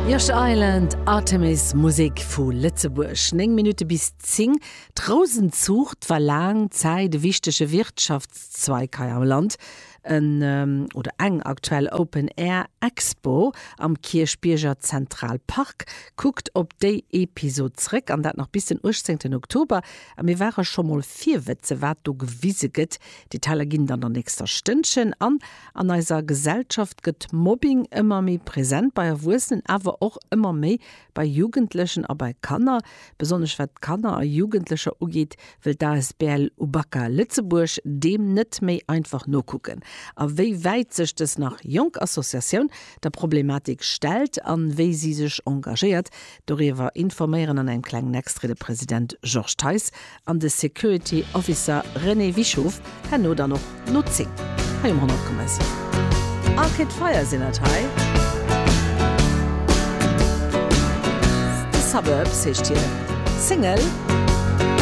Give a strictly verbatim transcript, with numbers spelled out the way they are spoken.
Yosh Island, Artemis, Musek vu Lëtzebuerg. Néng Minutte bis zéng. D'Rousenzuucht war laang Zäit e wichtege Wirtschaftszweig hei am Land. En oder eng aktuell Open Air Expo am Kierchbierger Zentralpark kuckt op déi Episod zréck, an dat nach bis den uechtzéngten Oktober. A mir ware scho mol virwëtze wat do gewise gëtt. Detailer ginn dann an der nächster Stënnchen. An an eiser Gesellschaft gëtt Mobbing ëmmer méi present bei Erwuessenen, awer och ëmmer méi bei Jugendlechen a bei Kanner. Besonnesch wat Kanner a Jugendlecher ugeet, wëll d'A S B L Ubaka Lëtzebuerg deem net méi einfach nokucken. A wéi wäit sech dës nach jonk Associatioun der Problematik stellt an wéi si sech engagéiert, doriwwer informéieren an engem klengen Extrait de President Georges Theis an de Security Officer René Wischow herno dann och no zéng hei um honnert Komma siwen. Arcade Fire sinn dat hei. The Suburbs heescht hir Single.